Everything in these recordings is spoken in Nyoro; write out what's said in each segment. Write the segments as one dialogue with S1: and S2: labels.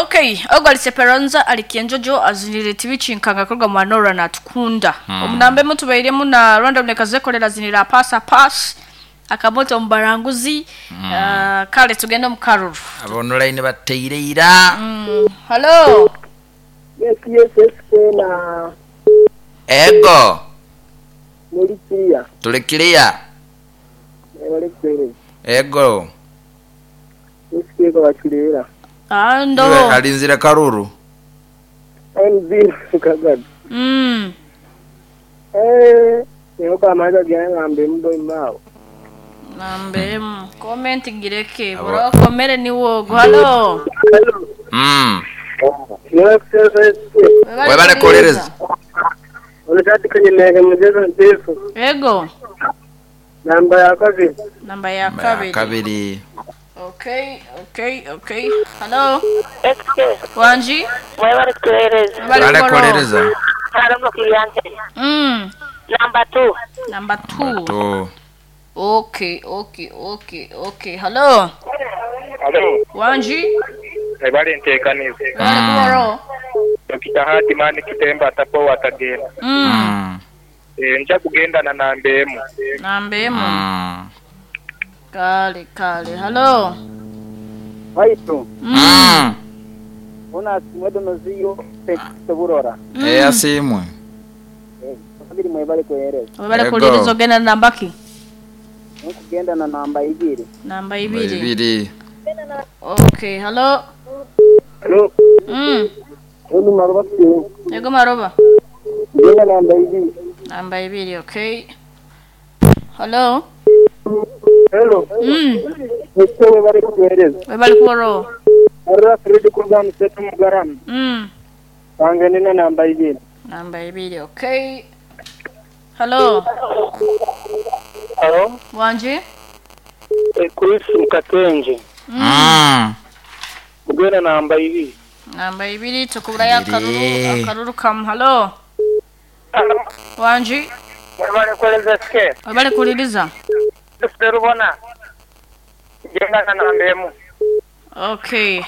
S1: Okay, ogwo Seperanza ali Kienjojo azinire tibichi nkanga korwa mwanora na tukunda. Omunambe mutubairemu na random nekazekolera zinira pasa pass akamoto mbaranguzi. Kale tugenda mu karuru.
S2: Abonolaini bateireira.
S1: Hello.
S3: Yes, yes, yes, na
S2: Ego.
S3: Muri clear.
S2: Tuli clear.
S3: Wale kwere.
S2: Ego.
S3: Nisikie kwa bachulera.
S1: Ando.
S2: Iwe alinzira karuru.
S3: NB kagad. Nyoka amaza gyangambe mbe mbo imao.
S1: Nambe comment gireke bro komere ni wogo. Hello.
S3: Hello.
S2: Webale kulereza.
S3: Unataka kwenye mchezo ndefu.
S1: Ego.
S3: Namba ya kabiri.
S1: Namba ya kabiri.
S2: Kabiri.
S1: Okay, okay, okay. Hello.
S4: SK.
S1: Wanji?
S4: Webale kulereza.
S2: Webale kulereza.
S4: Hello kiyante. Namba 2.
S1: Namba 2. Okay, okay, okay, okay. Hello.
S5: Hello.
S1: Wanji?
S5: Ebale ntekanize.
S1: Hello.
S5: Dokita Hadi mani kitemba atapo watagenda. Nja kugenda na nambemu.
S1: Nambemu. Kale kale. Hello.
S3: Haito. Una simwedo noziyo teburora.
S2: Asimwe.
S3: Kabiri mwebale kueleza.
S1: Mwebale kueleza ogenda na nambaki?
S3: Nkugenda na namba 2.
S1: Namba 2. Okay, hello.
S3: Hello. Ego maroba.
S1: Ego maroba.
S3: Genda namba 2.
S1: Namba 2, okay. Hello.
S3: Hello. Mwebale kueleza.
S1: Mwebale kuoro.
S3: Arra Fred kurga mseto mugaram. Pangeni na namba 2.
S1: Namba 2, okay. Hello.
S5: Hello.
S1: Wanji?
S5: Chris Mkatenje. Mugenda namba 2.
S1: Namba 2 tukubura ya karuru akaruru kam. Hello. Wanji?
S5: Mwebale kueleza SK.
S1: Mwebale kueleza.
S5: Serubona. Genda na namba emu.
S1: Okay.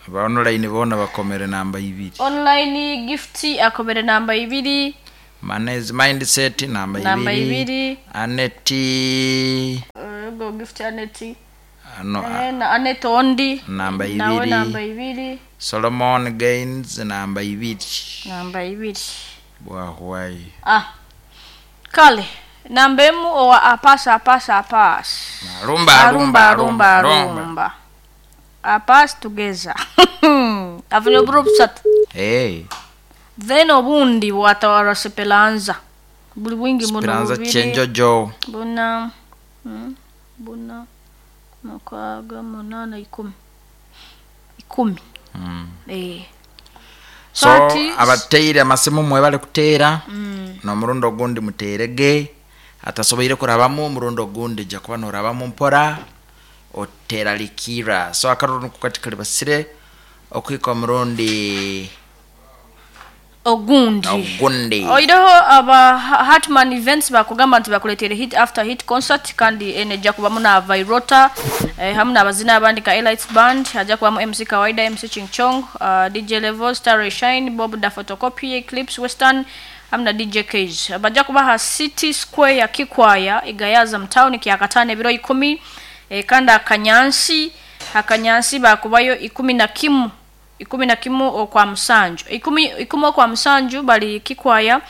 S2: Aba online bona bakomere namba 2.
S1: Online gift akomere namba 2.
S2: Manage mindset namba 2.
S1: Namba 2.
S2: Aneti.
S1: Go gift Aneti.
S2: No,
S1: na Anet Ondi
S2: namba 2.
S1: Nawe namba 2.
S2: Solomon Gaines namba 2.
S1: Namba 2.
S2: Bwahwai.
S1: Kale. Namba emu owa apasa apasa apas.
S2: Rumba rumba rumba
S1: rumba. Apas together. Avenue group sat.
S2: Hey.
S1: Then obundi watawara Speranza. Buli wingi muno.
S2: Speranza chenjojo.
S1: Buna. Buna. Mukaaga munana 10. 10.
S2: So abateire amasimu mwebale kuteera. No murundo gundi muterege. Atasoboire kurabamu murundo gundi jakuba norabamu mpora otera likira. So akaruru kukatika libasire okwika murundi
S1: ogundi. Oireho aba Hartman Events bakugamba nti bakuletere hit after hit concert kandi eneja kubamu na Virota hamu na abazina abandi ka Elites Band, haja kubamu MC Kawaida, MC Ching Chong, DJ Level, Star Shine, Bob da Photocopy, Eclipse Western hamu na DJ Cage. Baja kubaha City Square ya Kikwaya igayaza mtown kiakatane biro 10 kanda akanyansi bakubayo 11 11 okwa musanju 10 okwa musanju bali Kikwaya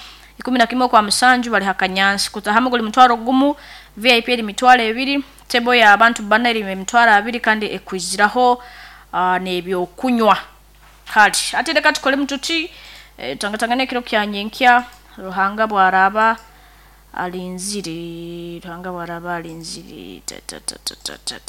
S1: 11 okwa musanju bali hakanyansi kutahamu guli mutwaro gumu VIP eri mitwaro 2 table ya abantu bana eri mitwaro 2 kandi ekwiziraho nebyo kunywa kali ate reka tukole mututi tangatangane kiro kyanyenkya Ruhanga bwaraba alinzire Ruhanga bwaraba alinzire ta ta ta ta ta.